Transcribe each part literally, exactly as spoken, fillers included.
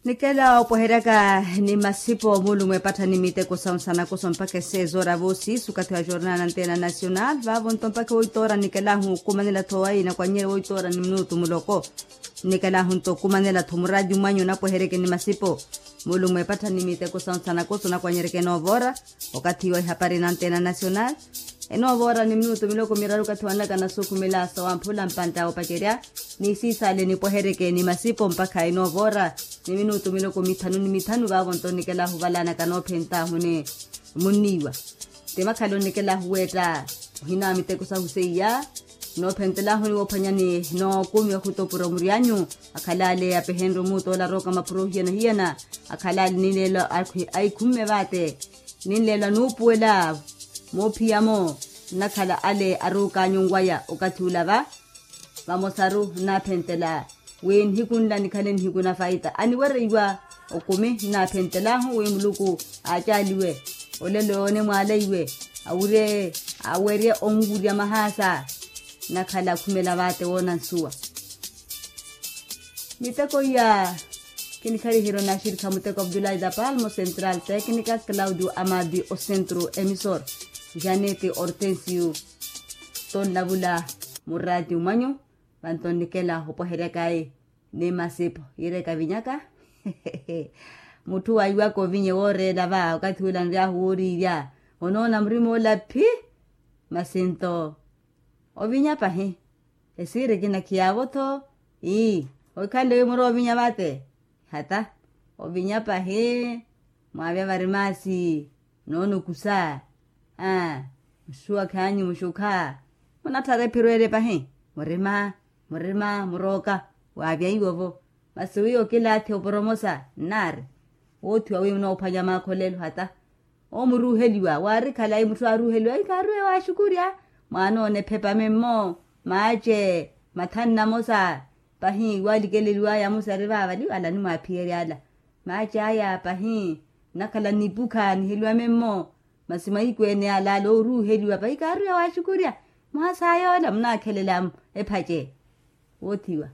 Nikela opweheryaka ni masipo mulumo epatthani miteko sawu sanakoso mpakha esezoora voosiisi okathi wa jornal anteena nacional vaavo nto mpakha woitoora nikelahu okumanela-tho wayi nakwanyerye woitoora ni minutu muloko. Nikelahu nto okumanela-tho muraati mwanyu napweheryeke ni masipo mulumo epatthani miteko sawu sanakoso nakwanyereke enoovoora. Okathi iwa ihapari nanteena nacional enoovoora ni minutu miloko miraru okathi wanaka nasukhumela sawamphula mpantta opacerya. Ni siisale nipweheryeke ni masipo mpakha enoovoora ni minutu miloko mithanu ni mithanu vaavo nto nikelahu valanaka noophentaahu ni munniiwa. Ti makhala onikelahu weetta ohina miteko sahu seiya. Noophentelahuni woophwanyani nookumi okhutopura omuri anyu. Akhalale apehenrye omuutola arooka mapuro hiyana hiyana. Akhalale ninleelo aikhumme vaate. Ninleelo anuupuwela moophiyamo nnakhala ale aruuka anyunwaya okathi ula va. Vamosaru nnaaphentela wi nihiku nla nikhale nihiku na faita aniwereiwa. Okumi nnaaphentelahu wi muluku aacaaliwe olelo yoone mwaalaiwe awirye awerye onwurya mahaasa. Nnakhala akhumela vaate woona nsuwa. Miteko iya kinikharihirya onaxirikha muteko abdulahi da palmo central tecnica claudio amadi ocentro emisor janete hortensio. Tonlavula muraati mwanyu. Vanto nnikela opweheryaka ayi ni masipo yiireka vinyaka. Mutthu waiwaka ovinya wooreela va okathi ula nryaahu wooriirya onoona murima ola phi. Masi nto ovinya pahi. Esiiri ekina khiyaavo-tho. Ii. Ohikhanle wi muroovinya vate hata ovinya pahi. Mwaavya vari maasi noonukusa. Aa. Muxuwa khaanyu muxukha munatthara ephiro ele pahi. Murima murima murooka waavyaiwa-vo. Masi wiiya okilaathi oporomosa nnaari woothiwa wi munoophwanya maakholelo hata. Omuruuheliwa waarikhala ayi mutthu aaruuheliwa ayi kaaruuhe waaxukurya. Mwaanoona ephepa memmo maace mathanu namosa pahi waalikeleliwaya amosa ari vaavali ala animwaaphiyerya ala. Maace aya pahi nnakhala nnipukha niheliwa memmo. Masi mahiku ene ala ala ooruuheliwa pahi kaaruuhe waaxukurya. Mwaasa yoola munaakhelela ephace woothiwa.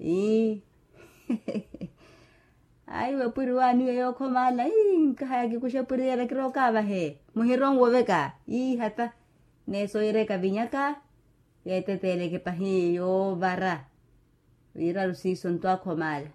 Ii. Ayi wepwiri waaniwe yookhomala ii nkahaya kikuxe epwiri yeera kirookaavahe muhironwe oveka ii hata. Neeso yiireka vinyaka yeeteteeleke pahi yoovara. Viiraru siiso ntwaakhomala.